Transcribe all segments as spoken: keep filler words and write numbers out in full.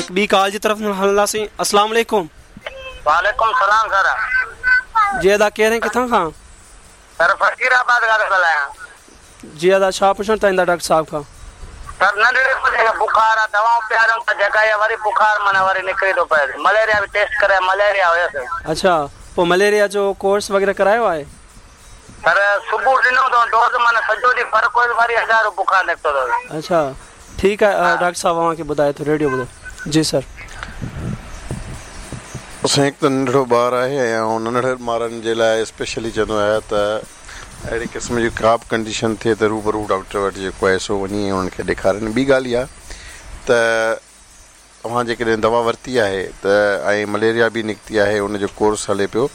हिकु ॿी कॉल जी तरफ़ हलंदासीं। अस्सलाम वालेकुम। वालेकुम सलाम सर। जी अदा केरु किथां खां? सर फ़कीराबाद खां थो ॻाल्हायां। जी अदा छा पुछणु चाहींदा डॉक्टर साहिब खां? सर नंढड़े बुखार आहे, दवाऊं पीआरियूं त जॻह वरी बुखार माना वरी निकिरी थो पए। मलेरिया बि टेस्ट करे मलेरिया हुयुसि। अच्छा, पोइ मलेरिया जो कोर्स वग़ैरह करायो आहे? सर सुबुह ॾिनो अथऊं डोज़, माना सॼो ॾींहुं फ़र्क़ु हुयुसि, वरी हज़ारो बुखार निकितो अथसि। अच्छा ठीकु आहे, डॉक्टर साहिब अव्हां खे ॿुधाए थो रेडियो ॿुधो। जी सर। साईं हिकु त नंढड़ो ॿार आहे ऐं नंढड़े ॿारनि जे लाइ स्पेशली चवंदो आहियां त अहिड़े क़िस्म जी का बि कंडीशन थिए त रूबरू डॉक्टर वटि जेको आहे सो वञी उन्हनि खे ॾेखारनि। ॿी ॻाल्हि इहा त तव्हां जेकॾहिं दवा वरिती आहे त ऐं मलेरिया बि निकिती आहे, उनजो कोर्स हले पियो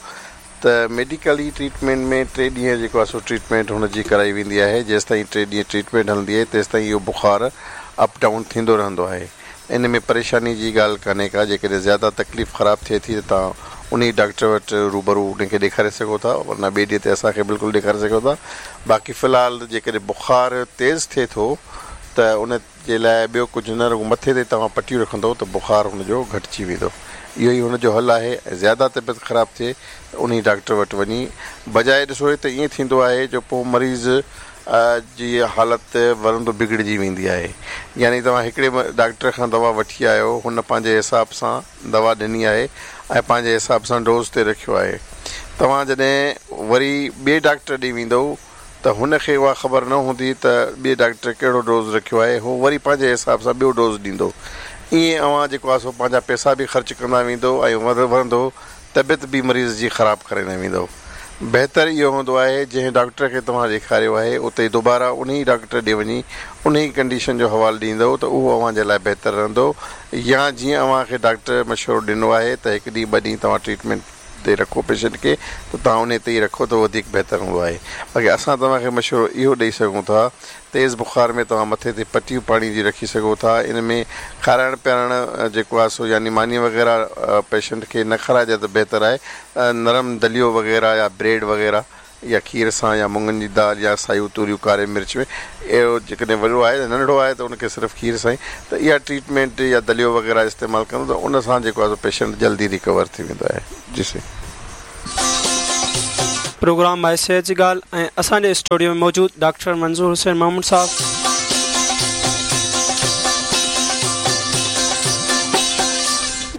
त मेडिकली ट्रीटमेंट में टे ॾींहं जेको आहे सो ट्रीटमेंट हुनजी कराई वेंदी आहे। जेसि ताईं टे ॾींहं ट्रीटमेंट हलंदी आहे तेसि ताईं इहो बुखार अप डाउन थींदो रहंदो आहे। इन में परेशानी जी ॻाल्हि कान्हे का, जेकॾहिं ज़्यादा तकलीफ़ ख़राबु थिए थी त तव्हां उन डॉक्टर वटि रूबरू उनखे ॾेखारे सघो था, वरना ॿिए ॾींहं ते असांखे बिल्कुलु ॾेखारे सघो था। बाक़ी फ़िलहाल जेकॾहिं बुखार तेज़ थिए थो त उन जे लाइ ॿियो कुझु न, रुॻो मथे ते तव्हां पटियूं रखंदव त बुखार हुनजो घटिजी वेंदो। इहो ई हुनजो हल आहे। ऐं ज़्यादा तबियत ख़राबु थिए त उन डॉक्टर वटि वञी बजाए ॾिसो त ईअं थींदो आहे जो पोइ मरीज़ जी हालत वरंदो बिगड़िजी वेंदी आहे। यानी तव्हां हिकिड़े डॉक्टर खां दवा वठी आयो, हुन पंहिंजे हिसाब सां दवा ॾिनी आहे ऐं पंहिंजे हिसाब सां डोज़ ते रखियो आहे। तव्हां जॾहिं वरी ॿिए डॉक्टर ॾे वेंदव त हुनखे उहा ख़बर न हूंदी त ॿिए डॉक्टर कहिड़ो डोज़ रखियो आहे, हू वरी पंहिंजे हिसाब सां ॿियो डोज़ ॾींदो। ईअं अव्हां जेको आहे सो पंहिंजा पैसा बि ख़र्च कंदा वेंदव ऐं वरंदो तबियत बि मरीज़ जी ख़राबु करे न वेंदव। बहितर इहो हूंदो आहे जंहिं डॉक्टर खे तव्हां ॾेखारियो आहे उते दोबारा उन ई डॉक्टर ॾे वञी उन ई कंडीशन जो हवालो ॾींदव त उहो अव्हां जे लाइ बहितर रहंदो। या जीअं अव्हांखे डॉक्टर मशवरो ॾिनो आहे त हिकु ॾींहुं ॿ ॾींहुं तव्हां ट्रीटमेंट ते रखो पेशेंट खे, त तव्हां उन ते ई रखो त वधीक बहितर हूंदो आहे। बाक़ी असां तव्हांखे मशवरो इहो ॾेई सघूं था, तेज़ बुखार में तव्हां मथे ते पटियूं पाणी जी रखी सघो था। इन में खाराइण पीआरण जेको आहे सो यानी मानी वग़ैरह पेशेंट खे न खाराइजे त बहितर आहे। नरम दलियो वग़ैरह या ब्रेड वग़ैरह या खीर सां या मुङनि जी दाल या सायूं तूरियूं कारे मिर्च में इहो जेकॾहिं वॾो आहे नंढो आहे त उनखे सिर्फ़ु खीर सां ई त इहा ट्रीटमेंट या दलियो वग़ैरह इस्तेमालु कंदो त उन सां जेको आहे पेशेंट जल्दी रिकवर थी वेंदो आहे। जी सर। प्रोग्राम आहे सेहत जी ॻाल्हि ऐं असांजे स्टूडियो में मौजूदु डॉक्टर मंज़ूर हुसैन महमूद साहब।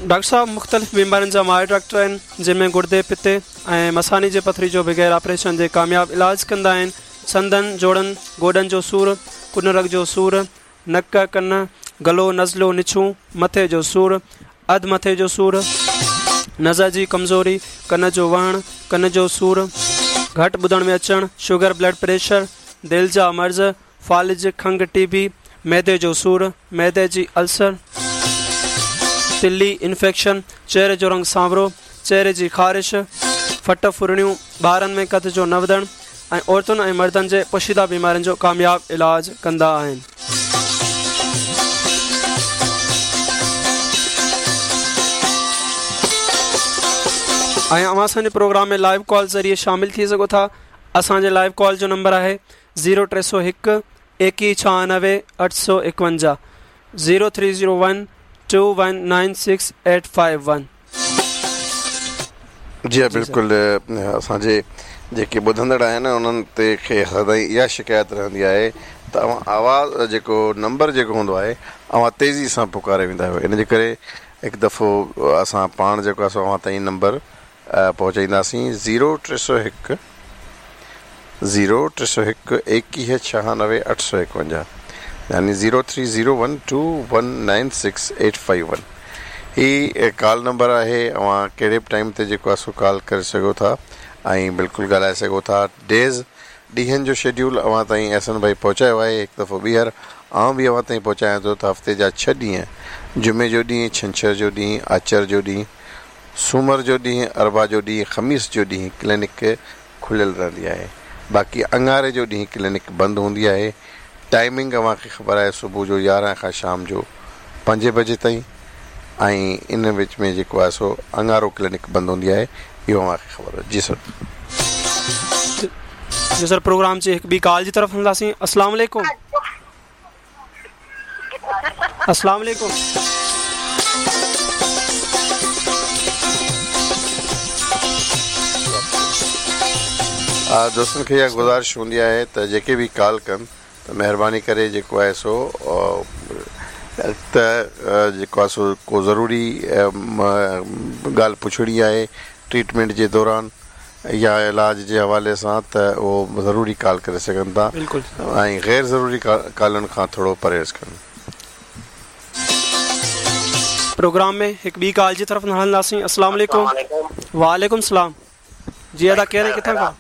डॉक्टर साहब मुख़्तलिफ़ बीमारियुनि जा माहिर डॉक्टर आहिनि, जंहिंमें गुर्दे, पित्ते ऐं मसाने जे पथरी जो बग़ैर ऑपरेशन जे कामयाबु इलाज कंदा आहिनि। संदन, जोड़नि, गोॾनि जो सूर, कुनरग जो सूर, नक, कन, गलो, नज़लो, निछूं, मथे जो सूर, अधु मथे जो सूर, नज़र जी कमज़ोरी, कन जो वहण, कन जो सूर, घटि ॿुधण में अचणु, शुगर, ब्लड प्रेशर, दिलि जा मर्ज़, फ़ालिज, खंघ, टीबी, मैदे जो सूर, मैदे जी अल्सर, तिल्ली, इन्फेक्शन, चेहरे जो रंग सांवरो, चेहरे जी ख़ारिश, फट फुरणियूं, ॿारनि में कद जो न वधणु ऐं औरतुनि ऐं मर्दनि जे पोशीदा बीमारियुनि जो कामयाबु इलाज कंदा आहिनि। ऐं अव्हां असांजे प्रोग्राम में लाइव कॉल ज़रिए शामिल थी सघो था। असांजे लाइव कॉल जो नंबर आहे ज़ीरो टे सौ हिकु एकवीह छहानवे अठ सौ एकवंजाह, zero three zero one two one nine six eight five one. जी हा बिल्कुलु, असांजे जेके ॿुधंदड़ आहिनि उन्हनि ते खे सदाईं इहा शिकायत रहंदी आहे त अव्हां आवाज़ जेको नंबर जेको हूंदो आहे अव्हां तेज़ी सां पुकारे वेंदा आहियो। इन जे करे हिकु दफ़ो असां पाण जेको आहे सो अव्हां ताईं नंबर पहुचाईंदासीं। ज़ीरो टे सौ हिकु ज़ीरो टे सौ हिकु एकवीह छहानवे अठ सौ एकवंजाह, यानी zero three zero one two one nine six eight five one ही कॉल नंबर आहे। अव्हां कहिड़े बि टाइम ते जेको आहे सो कॉल करे सघो था ऐं बिल्कुलु ॻाल्हाए सघो था। डेज़ ॾींहनि जो शेड्यूल अव्हां ताईं अहसन भाई पहुचायो आहे। हिकु दफ़ो ॿीहर आउं बि अव्हां ताईं पहुचायां थो त हफ़्ते जा छह ॾींहं, जुमे जो ॾींहुं, छंछर जो ॾींहुं, आचर जो ॾींहुं, सूमर जो ॾींहुं, अरबा जो ॾींहुं, ख़मीस जो ॾींहुं क्लिनिक खुलियल रहंदी आहे। बाक़ी अंगारे जो ॾींहुं क्लिनिक बंदि हूंदी आहे। टाइमिंग अव्हांखे ख़बर आहे, सुबुह जो यारहं खां शाम जो पंजे बजे ताईं ऐं इन विच में जेको आहे सो अंगारो क्लिनिक बंदि हूंदी आहे। इहो अव्हांखे ख़बर आहे। जी सर। जी सर, प्रोग्राम जी हिकु ॿी कॉल जी तरफ़ हलंदासीं। अस्सलाम वालेकुम। अस्सलाम वालेकुम। दोस्तनि खे इहा गुज़ारिश हूंदी आहे त जेके बि कॉल कनि त महिरबानी करे जेको आहे सो त जेको आहे सो को ज़रूरी ॻाल्हि पुछणी आहे ट्रीटमेंट जे दौरान या इलाज जे हवाले सां त उहो ज़रूरी कॉल करे सघनि था ऐं ग़ैर ज़रूरी कॉलनि खां थोरो परहेज़ कनि। प्रोग्राम में हिकु ॿी कॉल जी तरफ़ हलंदासीं। अस्सलाम वालेकुम। वालेकुम सलाम। जी अदा केरु किथां खां?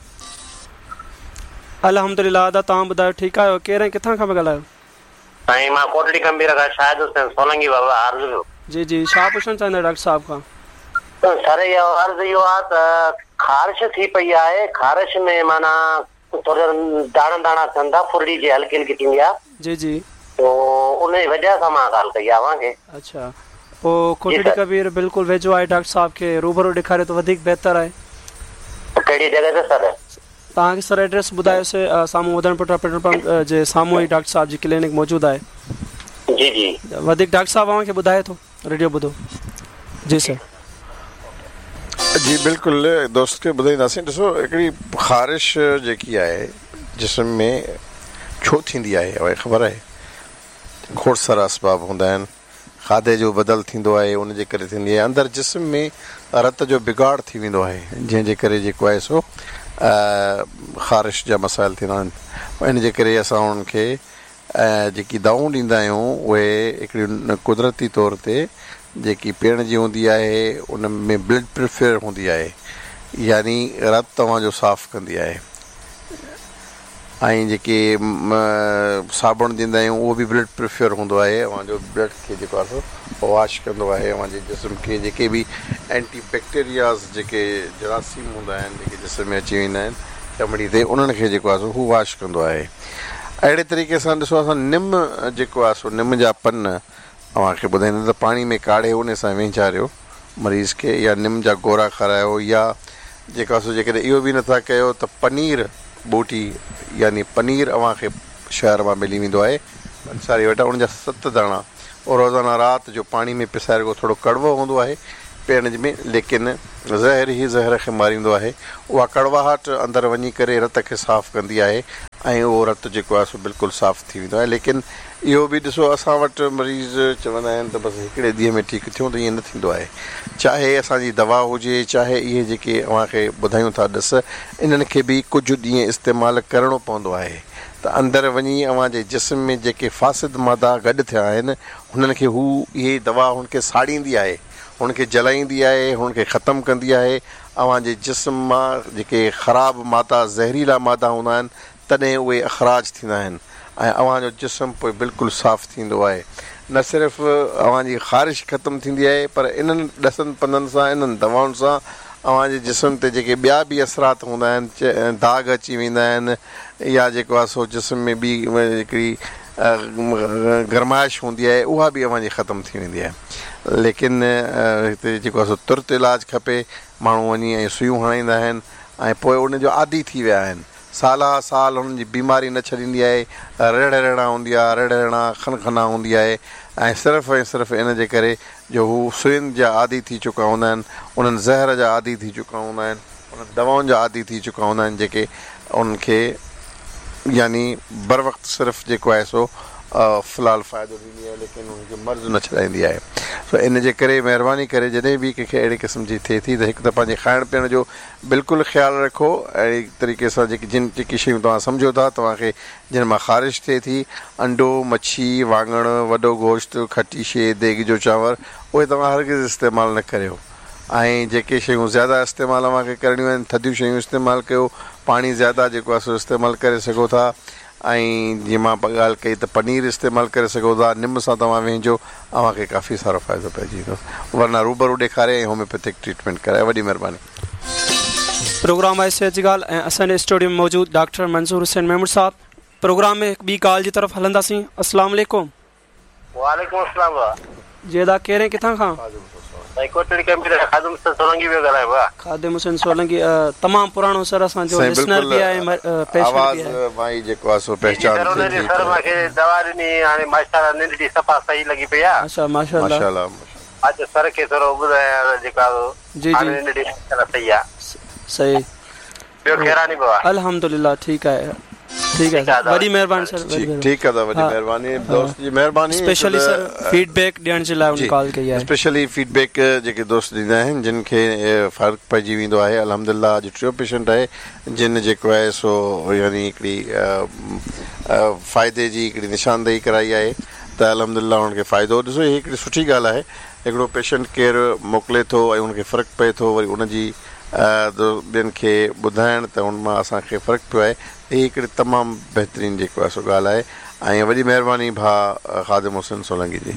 अल्हम्दुलिल्लाह अदा तव्हां ॿुधायो ठीकु आहियो? केरु किथां खां पिया ॻाल्हायो? साईं मां कोटड़ी गंभीर खां शाहिद हुसैन सोलंगी बाबा अर्ज़ु पियो। जी जी छा पुछणु चाहींदा डॉक्टर साहब खां? सर इहो अर्ज़ु इहो आहे त ख़ारिश थी पई आहे, ख़ारिश में माना थोरो दाणा दाणा थियनि था, फुरड़ी जी हल्की हल्की थींदी आहे। जी जी तो उन जी वजह सां मां ॻाल्हि कई आहे तव्हांखे। अच्छा पोइ कोटड़ी कबीर बिल्कुलु वेझो आहे डॉक्टर साहब खे रूबरू ॾेखारियो त वधीक बहितर आहे। कहिड़ी जॻह ते सर? तव्हांखे सर एड्रेस ॿुधायोसीं, साम्हूं वधणपुटा पेट्रोल पंप जे साम्हूं ई डॉक्टर साहब जी क्लिनिक मौजूदु आहे। जी जी वधीक डॉक्टर साहब तव्हांखे ॿुधाए थो, रेडियो ॿुधो। जी सर। जी बिल्कुलु दोस्त खे ॿुधाईंदासीं। ॾिसो हिकिड़ी ख़ारिश जेकी आहे जिस्म में छो थींदी आहे उहा ख़बर आहे, खोड़ सारा असबाब हूंदा आहिनि। खाधे जो बदल थींदो आहे उनजे करे थींदी आहे, अंदरि जिस्म में रत जो बिगाड़ थी वेंदो आहे जंहिंजे करे जेको आहे सो ख़ारिश जा मसाइल थींदा आहिनि। इन जे करे असां उन्हनि खे जेकी दवाऊं ॾींदा आहियूं उहे हिकिड़ी कुदरती तौर ते जेकी पीअण जी हूंदी आहे उन में ब्लड प्रेशर हूंदी आहे, यानी रत तव्हांजो साफ़ कंदी आहे। ऐं जेके साबुण ॾींदा आहियूं उहो बि ब्लड प्रेशर हूंदो आहे, तव्हांजो ब्लड खे जेको आहे सो वॉश कंदो आहे। तव्हांजे जिस्म खे जेके बि एंटी बैक्टीरियाज़ जेके जरासीम हूंदा आहिनि जेके जिस्म में अची वेंदा आहिनि चमड़ी ते, उन्हनि खे जेको आहे सो हू वॉश कंदो आहे। अहिड़े तरीक़े सां ॾिसो असां निम जेको आहे सो निम जा पन तव्हांखे ॿुधाईंदा त पाणी में काढ़े उन सां विंझारियो मरीज़ खे, या निम जा गोरा खारायो, या जेको आहे सो जेकॾहिं इहो बि नथा कयो त पनीर ॿूटी यानी पनीर तव्हांखे शहर मां मिली वेंदो आहे पंसारी वटां, उन जा सत दाणा और रोज़ाना राति जो पाणी में पिसाए रखो। थोरो कड़वो हूंदो आहे पीअण में, लेकिन ज़हर ई ज़हर खे मारींदो आहे। उहा कड़वाहट अंदरि वञी करे रत खे साफ़ कंदी आहे ऐं उहो रत जेको आहे सो बिल्कुलु साफ़ थी वेंदो आहे। लेकिन इहो बि ॾिसो असां वटि मरीज़ चवंदा आहिनि त बसि हिकिड़े ॾींहं में ठीकु थियो त ईअं न थींदो आहे। चाहे असांजी दवा हुजे, चाहे इहे जेके तव्हांखे ॿुधायूं था ॾस, इन्हनि खे बि कुझु ॾींहं इस्तेमालु करिणो पवंदो आहे त अंदरि वञी तव्हांजे जिस्म में जेके फ़ासिद मादा गॾु थिया आहिनि हुननि खे हू इहे दवा हुनखे साड़ींदी आहे, हुनखे जलाईंदी आहे, हुनखे ख़तमु कंदी आहे। तव्हांजे जिस्म मां जेके ख़राबु मादा ज़हरीला मादा हूंदा आहिनि तॾहिं उहे अख़राज थींदा आहिनि ऐं तव्हांजो जिस्म पोइ बिल्कुलु साफ़ थींदो आहे। न सिर्फ़ु तव्हांजी ख़ारिश ख़तमु थींदी आहे पर इन्हनि ॾसनि पंदनि सां, इन्हनि दवाउनि सां तव्हांजे जिस्म ते जेके ॿिया बि असरात हूंदा आहिनि, दाग़ अची वेंदा आहिनि या जेको आहे सो जिस्म में ॿी हिकिड़ी गरमाइश हूंदी आहे उहा बि तव्हांजी ख़तमु थी वेंदी आहे। लेकिन हिते जेको आहे सो तुरत इलाज खपे, माण्हू वञी ऐं सुयूं हणाईंदा आहिनि ऐं पोइ उनजो आदी थी विया आहिनि, साल साल हुननि जी बीमारी न छॾींदी आहे, रड़ रड़ा हूंदी आहे, रड़ रड़ा खनखना हूंदी आहे ऐं सिर्फ़ु ऐं सिर्फ़ु इन जे करे जो हू सुयुनि जा आदी थी चुका हूंदा आहिनि, उन्हनि ज़हर जा आदी थी चुका हूंदा आहिनि, उन्हनि दवाउनि जा आदी थी चुका हूंदा आहिनि जेके उन्हनि खे यानी बर वक़्तु सिर्फ़ु जेको आहे सो फ़िलहालु फ़ाइदो ॾींदी आहे, लेकिन हुनखे मर्ज़ न छॾाईंदी आहे। सो इन जे करे महिरबानी करे जॾहिं बि कंहिंखे अहिड़े क़िस्म जी थिए थी त हिकु त पंहिंजे खाइण पीअण जो बिल्कुलु ख़्यालु रखो। अहिड़े तरीक़े सां जेकी जिन जेकी शयूं तव्हां सम्झो था तव्हांखे जिन मां ख़ारिश थिए थी, अंडो, मच्छी, वाङण, वॾो गोश्त, खटी शइ, देग जो चांवर, उहे तव्हां हरगिज़ इस्तेमालु न करियो। ऐं जेके शयूं ज़्यादा इस्तेमालु तव्हांखे करणियूं आहिनि, थधियूं शयूं इस्तेमालु कयो, पाणी ज़्यादा जेको आहे सो इस्तेमालु करे सघो था। ऐं जीअं मां ॻाल्हि कई त पनीर इस्तेमालु करे सघो था, निम सां तव्हां वेंजो, तव्हांखे काफ़ी सारो फ़ाइदो पइजी वेंदो। वरना रूबरू ॾेखारे ऐं होम्योपैथिक ट्रीटमेंट कराए। वॾी महिरबानी। प्रोग्राम आहे सिहत जी ॻाल्हि ऐं असांजे स्टूडियो में मौजूदु डॉक्टर मंज़ूर हुसैन मेमण साहब। प्रोग्राम में हिकु ॿी कॉल जी तरफ़ हलंदासीं। अस्सलाम वालेकुम। वालेकुम अस्सलाम। जी अदा केरु किथां खां? खादिम हुसैन सोलंकी तमामु पुराणो सर असांजो लिसनर बि आहे, पेशेंट बि आहे। माई जेको आहे सो पहचान थी सर माखे दवा ॾिनी, हाणे माशाअल्लाह नंढड़ी सफ़ा सही लॻी पई आहे। अच्छा माशाअल्लाह माशाअल्लाह। अच्छा सर खे थोरो ॿुधायां जेको आहे जी जी नंढड़ी माशाअल्लाह सही आहे। सही ॿियो ख़ैरानी बाबा? अल्हम्दुलिल्लाह ठीकु आहे। ठीकु आहे, वॾी महिरबानी सर। ठीकु आहे, वॾी महिरबानी दोस्त जी, महिरबानी। स्पेशली सर फीडबैक ॾियण जे लाइ उन कॉल कई आहे। स्पेशली फीडबैक जेके दोस्त ॾींदा आहिनि जिन खे फ़र्क़ु पइजी वेंदो आहे। अल्हम्दुलिल्लाह अॼु टियों पेशेंट आहे जिन जेको आहे सो यानी हिकिड़ी फ़ाइदे जी हिकिड़ी निशानदेही कराई आहे त अल्हम्दुलिल्लाह हुनखे फ़ाइदो। ॾिसो हीअ हिकिड़ी सुठी ॻाल्हि आहे, हिकिड़ो पेशेंट केरु मोकिले थो ऐं हुनखे फ़र्क़ु पए थो, वरी उनजी ॿियनि खे ॿुधाइण त हुन मां असांखे फ़र्क़ु पियो आहे। हीअ हिकिड़ी तमामु बहितरीनु जेको आहे सो ॻाल्हि आहे ऐं वॾी महिरबानी भाउ ख़ादिम हुसैन सोलंकी जी।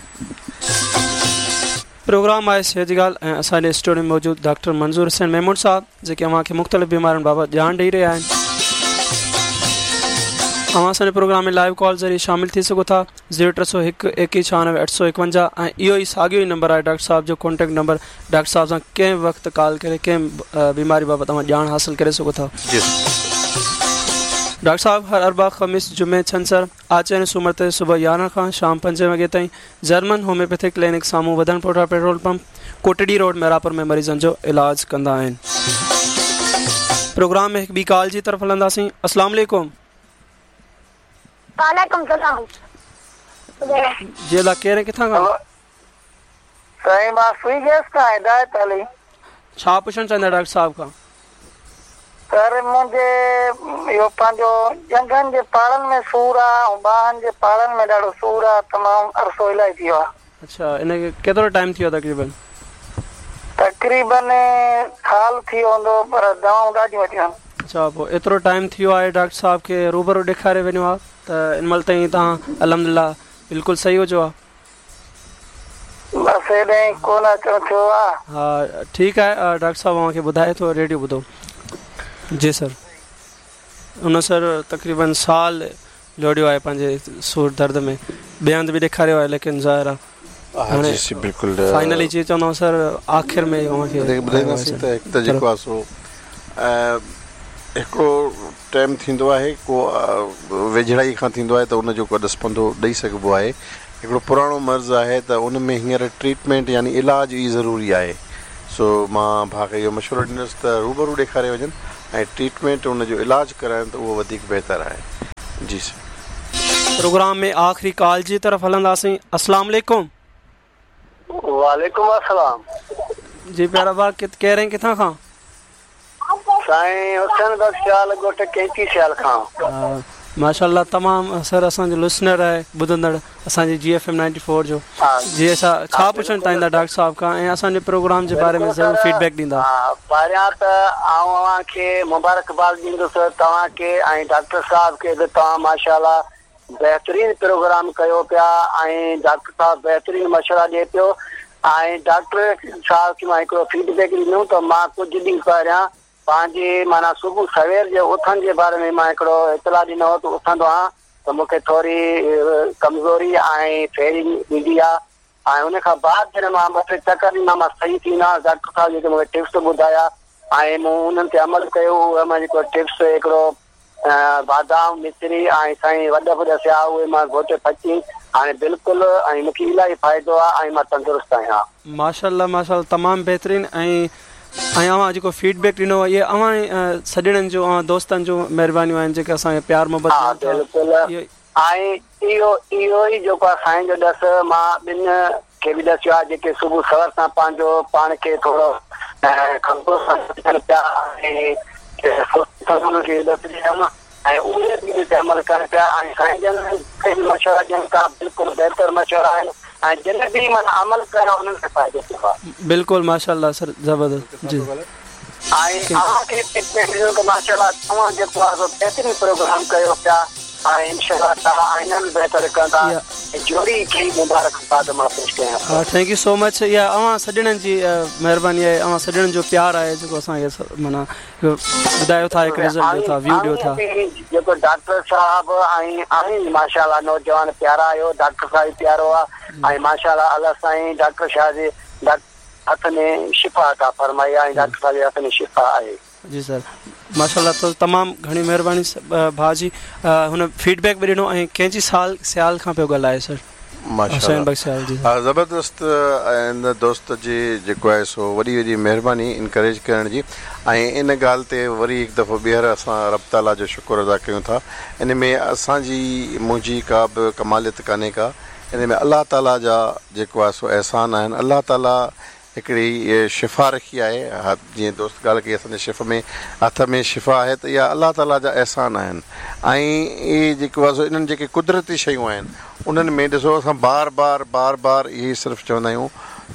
प्रोग्राम आहे सेहत जी ॻाल्हि ऐं असांजे स्टूडियो में मौजूदु डॉक्टर मंज़ूर हुसैन मेमून साहिबु जेके अव्हांखे मुख़्तलिफ़ बीमारियुनि बाबति ॼाण ॾेई रहिया आहिनि। अव्हां असांजे प्रोग्राम में लाइव कॉल ज़रिए शामिल थी सघो था। ज़ीरो टे सौ हिकु एकवीह छानवे अठ सौ एकवंजाह ऐं इहो ई साॻियो ई नंबर आहे डॉक्टर साहिब जो कॉन्टेक्ट नंबर। डॉक्टर साहिब सां कंहिं बि वक़्तु कॉल करे कंहिं बीमारी बाबति तव्हां ॼाण हासिल करे सघो था। डॉक्टर साहब हर अरबा ख़मीस जुमे छंछर आचर ऐं सूमर ते सुबुह यारहं खां शाम पंजे वॻे ताईं जर्मन होम्योपैथिक क्लिनिक साम्हूं वधण पोठा petrol pump Kotri road Mehrapur में मरीज़नि जो इलाज कंदा आहिनि। प्रोग्राम में हिकु ॿी कॉल जी तरफ़ हलंदासीं। अस्सलाम वालेकुम। वालेकुम सलाम। जी अला केरु किथां खां? साईं मां सुई गैस खां हिदायत अली। छा पुछणु चाहींदा डॉक्टर साहब खां? सर मुंहिंजे इहो पंहिंजो ॼंघनि जे पाड़नि में सूर आहे ऐं ॿाहनि जे पाड़नि में ॾाढो सूर आहे, तमामु अरसो इलाही थी वियो आहे। अच्छा, इन केतिरो टाइम थी वियो तक़रीबन? तक़रीबन साल थी वियो हूंदो, पर दवाऊं ॾाढियूं वरियूं आहिनि। अच्छा, पोइ एतिरो टाइम थी वियो आहे डॉक्टर साहब खे रूबरू ॾेखारे वञो आहे त इन महिल ताईं तव्हां अल्हम्दुलिल्लाह बिल्कुलु सही हुजो आहे? बसि हेॾे कोन अचणु थियो आहे। हा ठीकु आहे, डॉक्टर साहब अव्हांखे ॿुधाए थो, रेडियो ॿुधो। जी सर, उन सर तक़रीबन साल जोड़ियो आहे पंहिंजे सूर दर्द में, ॿिए हंधि बि ॾेखारियो आहे, लेकिन ज़ाहिर आहे बिल्कुलु फाइनली जी चवंदो सर आख़िर में अव्हांखे ॿुधाईंदासीं त हिकु त जेको आहे सो हिकिड़ो टाइम थींदो आहे को वेझड़ाई खां थींदो आहे त उनजो को ॾस पंधो ॾेई सघिबो आहे। हिकिड़ो पुराणो मर्ज़ आहे त उन में हींअर ट्रीटमेंट यानी इलाज ई ज़रूरी आहे। सो मां भाउ खे इहो मशवरो ॾींदुसि त रूबरू ॾेखारे वञनि ऐं ट्रीटमेंट उनजो इलाज कराइनि त उहो वधीक बहितर आहे। जी सर, प्रोग्राम में आख़िरी कॉल जी तरफ़ हलंदासीं। अस्सलाम वालेकुम। वालेकुम अस्सलाम। जी प्यारा भाउ, केरु ऐं किथां खां? साईं हुसैन बख़्श सियाल, ॻोठ कैंची सियाल खां। माशाअल्लाह, तमामु सर असांजो लिसनर आहे, ॿुधंदड़ असांजी G F M ninety four जो। जी असां छा पुछणु चाहींदा डॉक्टर साहब खां ऐं असांजे प्रोग्राम जे बारे में ज़रूरु फीडबैक ॾींदा? पहिरियां त आउं अव्हांखे मुबारकबाद ॾींदुसि तव्हांखे ऐं डॉक्टर साहब खे बि, तव्हां माशाअल्लाह बहितरीन प्रोग्राम कयो पिया ऐं डॉक्टर साहब बहितरीन मशवरा ॾिए पियो। ऐं डॉक्टर साहब खे मां हिकिड़ो फीडबैक ॾिनो त मां कुझु ॾींहुं पहिरियां पंहिंजी माना सुबुह सवेर जे उथण जे बारे में मां हिकिड़ो इतला ॾिनो हो त उथंदो आहियाँ त मूंखे थोरी कमज़ोरी ऐं फेरी ईंदी आहे ऐं उन खां बाद जॾहिं मां ॿ टे चकर ॾींदा मां सही थी वेंदो आहियाँ। डॉक्टर साहब जेके मूंखे टिप्स ॿुधाया ऐं मूं उन्हनि ते अमल कयो। उहे मां जेको टिप्स हिकिड़ो बादाम मिश्री ऐं साईं वॾ बि ॾसिया, उहे मां घोटे पची हाणे बिल्कुलु ऐं मूंखे इलाही फ़ाइदो आहे ऐं मां तंदुरुस्त आहियाँ। माशाअल्लाह माशाअल्लाह, तमामु बहितरीन। ऐं ऐं अव्हां जेको फीडबैक ॾिनो आहे, इहे अव्हां सॼणनि जो, अव्हां दोस्तनि जो महिरबानियूं आहिनि जेके असांखे प्यार मोहबत। बिल्कुलु, ऐं इहो इहो ई जेको आहे साईं जो ॾस मां ॿिनि खे बि ॾसियो आहे जेके सुबुह सवर सां पंहिंजो पाण खे थोरो कमज़ोर पिया ऐं ॾस ॾियमि ऐं उहे बि इन ते अमल कनि पिया ऐं साईं जन मशवरा ॾियनि था, बिल्कुलु बहितर मशवरा आहिनि ऐं जिन बि माना अमल कयो उन्हनि खे फ़ाइदो थियो आहे। बिल्कुलु माशाअल्लाह सर, ज़बरदस्त जी। ऐं अव्हांखे ॾिनो त माशाअल्लाह तव्हां जेको आहे सो बहितरीन प्रोग्राम कयो पिया ऐं इंशाअल्लाह तव्हां इन्हनि बि बहितर कंदा। जोड़ी खे मुबारकबाद मां पेश कयां। हा, thank you so much. इहा अव्हां सॼणनि जी महिरबानी आहे, अव्हां सॼणनि जो प्यार आहे जेको असांखे माना ॿुधायो था, हिकु रिज़ल्ट ॾियो था, व्यू ॾियो था। जेको डॉक्टर साहब ऐं आहिनि माशाअल्लाह नौजवान प्यारा आहियो, डॉक्टर साहिब प्यारो आहे ऐं माशाअल्लाह अलाह साईं डॉक्टर शाह जे हथ में शिफ़ा अता फरमाई ऐं डॉक्टर साहिब जे हथ में शिफ़ा आहे। जी सर, माशाअल्लाह। त तमामु घणी महिरबानी भाउ जी, हुन फीडबैक बि ॾिनो ऐं कंहिंजी साल सियाल खां पियो ॻाल्हाए सर? माशाअल्लाह ज़बरदस्त इन दोस्त जी जेको आहे सो वॾी वॾी महिरबानी इनकरेज करण जी ऐं इन ॻाल्हि ते वरी हिकु दफ़ो ॿीहर असां रब ताला जो शुक्र अदा कयूं था। इन में असांजी मुंहिंजी का बि कमालियत कान्हे का, इन में अलाह ताला जा जेको आहे सो अहसान आहिनि। अलाह ताला हिकिड़ी शिफ़ा रखी आहे, जीअं दोस्त ॻाल्हि कई असांजे शिफ में हथ में शिफ़ा आहे, त इहा अलाह ताला जा अहसान आहिनि। ऐं इहे जेको आहे सो इन्हनि जेके कुदरती शयूं आहिनि उन्हनि में ॾिसो असां बार बार बार बार इहे सिर्फ़ु चवंदा आहियूं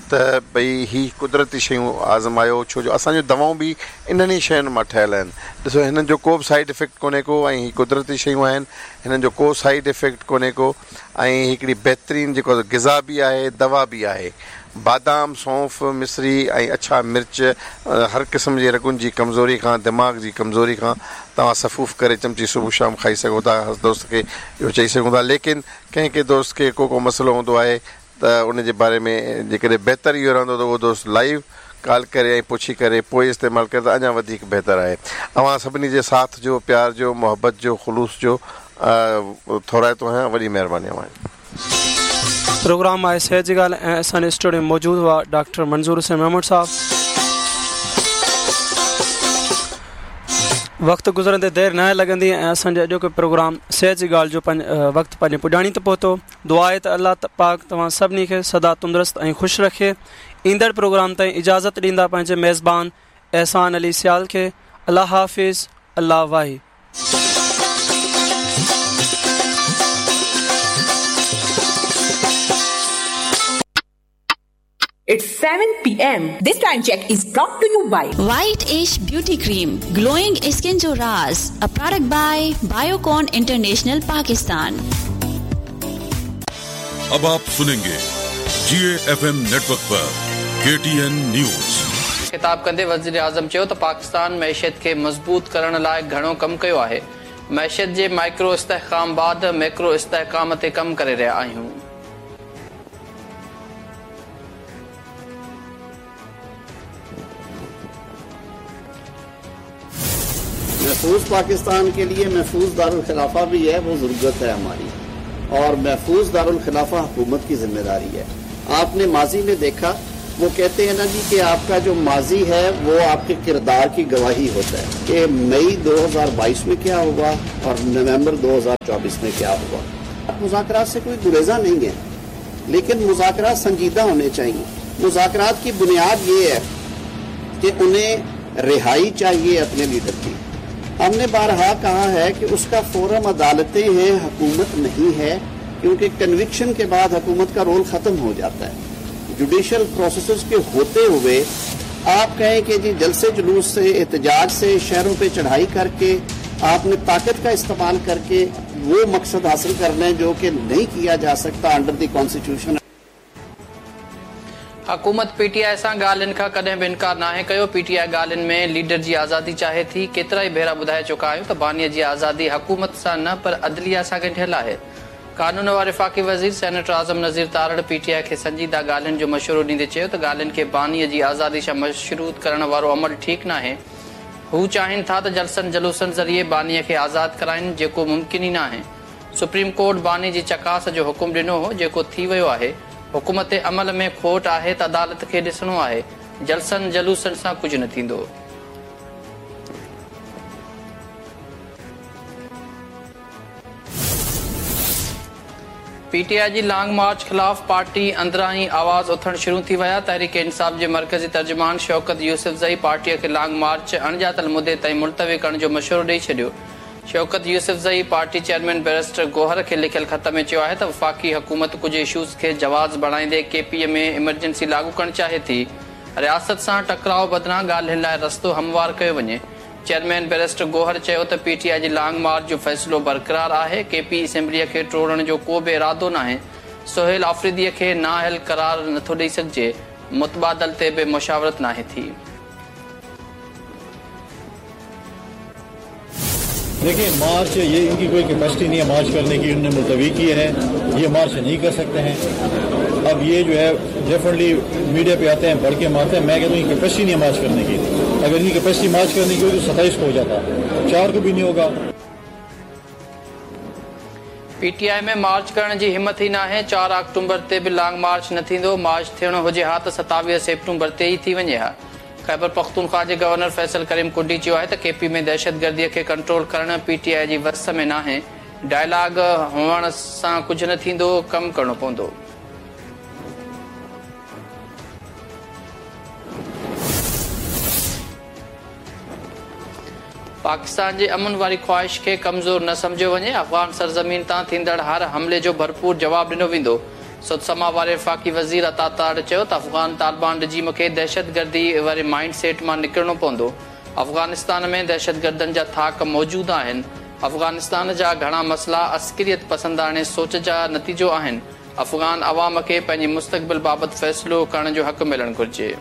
त भई ही कुदरती शयूं आज़मायो, छो जो असांजूं दवाऊं बि इन्हनि ई शयुनि मां ठहियल आहिनि। ॾिसो हिननि जो को बि साइड इफ़ेक्ट कोन्हे को ऐं ही कुदरती शयूं आहिनि, हिननि जो को साइड इफ़ेक्ट कोन्हे को ऐं हिकिड़ी बहितरीन जेको ग़िज़ा बि आहे, दवा बि आहे। बादाम, सौंफ़, मिश्री ऐं अछा मिर्च हर क़िस्म जे रगुनि जी कमज़ोरी खां, दिमाग़ जी कमज़ोरी खां तव्हां सफ़ूफ़ करे चमची सुबुह शाम खाई सघो था। हर दोस्त खे इहो चई सघूं था, लेकिन कंहिं कंहिं दोस्त खे को को मसइलो हूंदो आहे त उन जे बारे में जेकॾहिं बहितर इहो रहंदो त उहो दोस्त लाइव कॉल करे ऐं पुछी करे पोइ इस्तेमालु करे त अञा वधीक बहितर आहे। अव्हां सभिनी जे साथ जो, प्यार जो, मोहबत जो, ख़ुलूस जो थोराइतो आहियां। वॾी महिरबानी अव्हां। प्रोग्राम आहे सेहत जी ॻाल्हि ऐं असांजे स्टूडियो में मौजूदु हुआ डॉक्टर मंज़ूर हुसैन महमूद साहब। वक़्तु गुज़रंदे देरि न लॻंदी ऐं असांजो अॼोको प्रोग्राम सेहत जी ॻाल्हि जो पंहिंजो वक़्तु पंहिंजे पुॼाणी ते पहुतो। दुआ आहे त अलाह पाक तव्हां सभिनी खे सदा तंदुरुस्त ऐं ख़ुशि रखे। ईंदड़ प्रोग्राम ताईं इजाज़त ॾींदा पंहिंजे मेज़बान एहसान अली सियाल खे। अलाह हाफ़िज़, अलाह वाही। It's seven P M. This time check is brought to you by White Ish Beauty Cream, Glowing Skin Jo Raaz, a product by Biocon International Pakistan. अब आप सुनेंगे G A F M network पर K T N news. खिताब कंदे वज़ीर आज़म चयो त पाकिस्तान मईशत खे मज़बूत करण लाइ घणो कमु कयो आहे। मईशत जे माइक्रो इस्तेहकाम बाद मैक्रो इस्तेहकाम ते कमु करे रहिया आहियूं। महफूज पाकिस्तान के लिए महफूज दारुल खिलाफा भी है, वो ज़रूरत है हमारी, और महफूज दारुल खिलाफा हुकूमत की जिम्मेदारी है। आपने माजी में देखा, वो कहते हैं ना जी कि आपका जो माजी है वो आपके किरदार की गवाही होता है कि मई दो हज़ार बाईस में क्या हुआ और नवंबर दो हज़ार चौबीस में क्या हुआ। मुज़ाकरात से कोई गुरेजा नहीं है, लेकिन मुज़ाकरात संजीदा होने चाहिए। मुज़ाकरात की बुनियाद ये है कि उन्हें रिहाई चाहिए अपने लीडर की। हमने बारहा कहा है कि उसका फोरम अदालतें हैं, हुकूमत नहीं है, क्योंकि कन्विक्शन के बाद हुकूमत का रोल ख़त्म हो जाता है। जुडिशल प्रोसेस के होते हुए आप कहें कि जी जलसे जुलूस से, एहतजाज से, शहरों पे चढ़ाई करके आपने ताकत का इस्तेमाल करके वो मकसद हासिल करना है जो कि नहीं किया जा सकता अंडर the constitution. हुकूमत पी टी I सां ॻाल्हियुनि खां कॾहिं बि इनकार नाहे कयो। पी टी I ॻाल्हियुनि में लीडर जी आज़ादी चाहे थी। केतिरा ई भेरा ॿुधाए चुका आहियूं त बानीअ जी आज़ादी हुकूमत सां न पर अदलिया सां ॻंढियल आहे। कानून वारे वफ़ाक़ी वज़ीर senator Azam Nazir Tarar P T I खे संजीदा ॻाल्हियुनि जो मशवरो ॾींदे चयो त ॻाल्हियुनि खे बानीअ जी आज़ादी सां मशरूत करण वारो अमल ठीकु नाहे। हू चाहिनि था त जलसनि जलूसनि ज़रिए बानीअ खे आज़ाद कराइनि, जेको मुमकिन ई नाहे। सुप्रीम कोर्ट बानी जी चकास जो हुकुम ॾिनो हो, जेको थी वियो आहे। हुकूमत अमल में खोट आहे त अदालत खे ॾिसणो आहे। जलसनि जलूसनि सां कुझु न थींदो। P T I ji long march ख़िलाफ़ पार्टी अंदरां ई आवाज़ उथणु शुरू थी विया। तहरीक इंसाफ़ जे मरकज़ी तर्जुमान शौकत यूसुफ़ज़ई पार्टीअ खे लॉन्ग मार्च अणॼातल मुदे ताईं मुलतवी करण जो मशवरो ॾेई छॾियो। Shaukat Yousafzai party chairman barrister Gohar खे लिखियल ख़त में चयो आहे त वफ़ाक़ी हुकूमत कुझु इशूज़ खे जवाज़ बणाईंदे के पी में इमरजेंसी लागू करणु चाहे थी। रियासत सां टकराव बदिरां ॻाल्हियुनि लाइ रस्तो हमवार कयो वञे। चेयरमैन बैरिस्टर गोहर चयो त P T I ji long march जो फ़ैसिलो बरक़रार आहे। के पी असेंबलीअ खे टोड़ण जो को बि इरादो नाहे। सोहेल आफ़रीदीअ खे नाअहल करार नथो ॾेई सघिजे। मुतबादल ते बि मुशावरत नाहे थी। देखिए मार्च ये इनकी कोई कैपेसिटी नहीं है मार्च करने की, उन्होंने मुलतवी किए हैं, ये मार्च नहीं कर सकते हैं। अब ये जो है डेफिनेटली मीडिया पे आते हैं, बढ़ के मारते हैं। मैं कहता हूँ कैपेसिटी नहीं है मार्च करने की। अगर इनकी कैपेसिटी मार्च करने की होगी तो सत्ताईस को हो जाता, चार को भी नहीं होगा। पीटीआई में मार्च करण जी हिम्मत ई नाहे। चार अक्टूबर ते बि लॉन्ग मार्च न थींदो। मार्च थियणो हुजे हा त सतावीह सेप्टेम्बर ते ई थी वञे हा। ख़ैबर पख्तूनख्वा जे गवर्नर फैसल करीम कुंडी चयो आहे त केपी में दहशतगर्दीअ खे कंट्रोल करणु पीटीआई जी वस में नाहे। डायलॉग हुअण सां कुझु न थींदो, कमु करिणो पवंदो। पाकिस्तान जे अमन वारी ख़्वाहिश खे कमज़ोर न सम्झियो वञे। अफ़ग़ान सरज़मीन तां थींदड़ हर हमले जो भरपूर जवाब ॾिनो वेंदो। सदसमा वारे वफ़ाक़ी वज़ीर अता ताड़ चयो त अफ़ग़ान तालिबान रजीम खे दहशतगर्दी वारे माइंड सेट मां निकिरणो पवंदो। अफ़ग़ानिस्तान में दहशतगर्दनि जा थाक मौजूदु आहिनि। अफ़ग़ानिस्तान जा घणा मसइला अस्करियत पसंदाणे सोच जा नतीजो आहिनि। अफ़ग़ान अवाम खे पंहिंजे मुस्तक़बिल बाबति फ़ैसिलो करण जो हक़ मिलणु घुरिजे।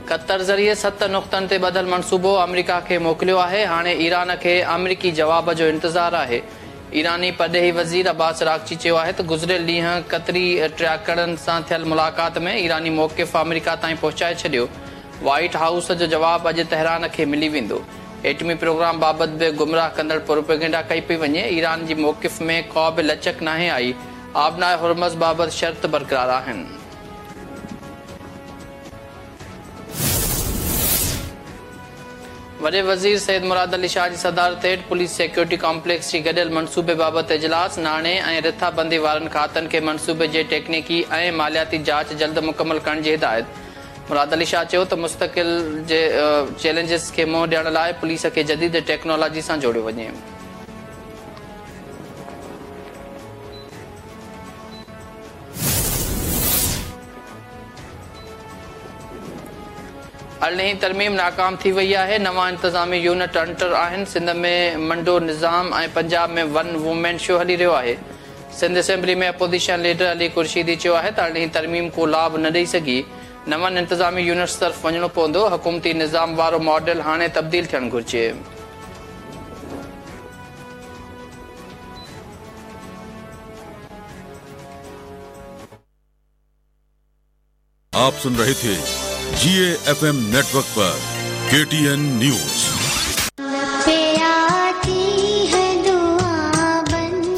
क़तर ज़रिए सत नुक़्तनि ते ॿधल मनसूबो अमेरिका खे मोकिलियो आहे। हाणे ईरान खे अमेरिकी जवाब जो इंतज़ार आहे। ईरानी परॾेही वज़ीर अब्बास रागची चयो आहे त गुज़िरियल ॾींहुं क़तरी टियाकड़नि सां थियल मुलाक़ात में ईरानी मौक़िफ़ अमेरिका ताईं पहुचाए छॾियो। वाइट हाउस जो जवाब अॼु तेहरान खे मिली वेंदो। एटमी प्रोग्राम बाबति बि गुमराह कंदड़ प्रोपेगेंडा कई पई वञे। ईरान जी मौक़िफ़ में का बि लचक नाहे आई। आबनाए हुर्मज़ बाबति शर्त बरक़रार आहिनि। वॾे वज़ीर सैद मुराद अली शाह जी सदारत हेठि पुलिस सिक्योरिटी कॉम्प्लेक्स जी गॾियल मनसूबे बाबति इजलास। नाणे ऐं रिथाबंदी वारनि खातनि खे मनसूबे जे टेक्निकी ऐं मालियाती जांच जल्द मुकमल करण जी हिदायत। मुराद अली शाह चयो त मुस्तक़िल जे चैलेंजिस खे मुंहुं ॾियण लाइ पुलिस खे जदीद टेक्नोलॉजी सां जोड़ियो वञे। अरिड़हीं तरमीम नाकाम थी वई आहे। नवां इंतिज़ामी यूनिट अंटर आहिनि। सिंध में मंडो निज़ाम ऐं पंजाब में वन वुमेन शो हली रहियो आहे। सिंध असेंबली में अपोज़िशन लीडर अली खुर्शीदी चयो आहे त अरिड़हीं तरमीम को लाभ न ॾेई सघी। नवनि इंतिज़ामी यूनिट्स तरफ़ वञिणो पवंदो। हुकूमती निज़ाम वारो मॉडल हाणे तब्दील थियणु घुरिजे। आप सुन रहे थे जी एफ एम नेटवर्क पर K T N news.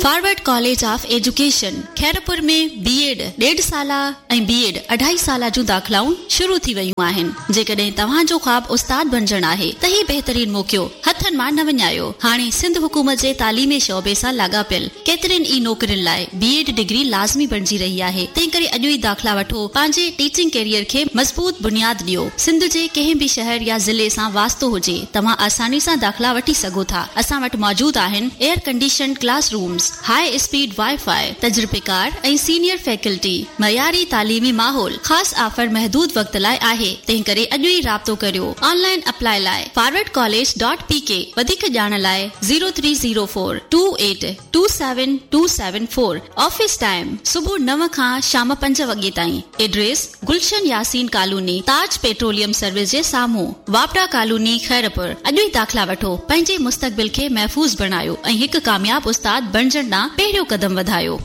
Forward college of education Khairpur में बीएड ॾेढ साला ऐं बीएड अढाई साला जूं दाख़िलाऊं शुरू थी वयूं आहिनि। जेकॾहिं तव्हांजो ख़्वाब उस्ताद बणजण आहे त ही बहितरीन मौक़ो हथनि मां न वञायो। हाणे सिंध हुकूमत जे तालीमी शोबे सां लाॻापियल केतिरनि ई नौकरियुनि लाइ बीएड डिग्री लाज़मी बणजी रही आहे। तंहिं करे अॼु ई दाख़िला वठो, पंहिंजे टीचिंग कैरियर खे मज़बूत बुनियाद ॾियो। सिंध जे कंहिं बि शहर या ज़िले सां वास्तो हुजे, तव्हां आसानी सां दाख़िला वठी सघो था। असां वटि मौजूद आहिनि air condition class rooms, high speed wifi, तजुर्बेकार ऐं सीनियर फैकल्टी, मयारी तालीमी माहौल। ख़ासि ऑफर महदूद वक़्त लाइ आहे, तंहिं करे अॼु ई राब्तो करियो। ऑनलाइन अप्लाई लाइ forward college dot P K. वधीक ॼाण लाइ zero three zero four two eight two seven two seven four. Office time सुबुह नव खां शाम पंज वॻे ताईं। Address Gulshan Yasin colony, Taj petroleum service जे साम्हूं, वापडा कॉलोनी, खैरपुर। अॼु ई दाख़िला वठो, पंहिंजे मुस्तक़बिल खे महफ़ूज़ बणायो ऐं हिकु कामयाब उस्ताद बणजण ॾांहुं पहिरियों कदम वधायो।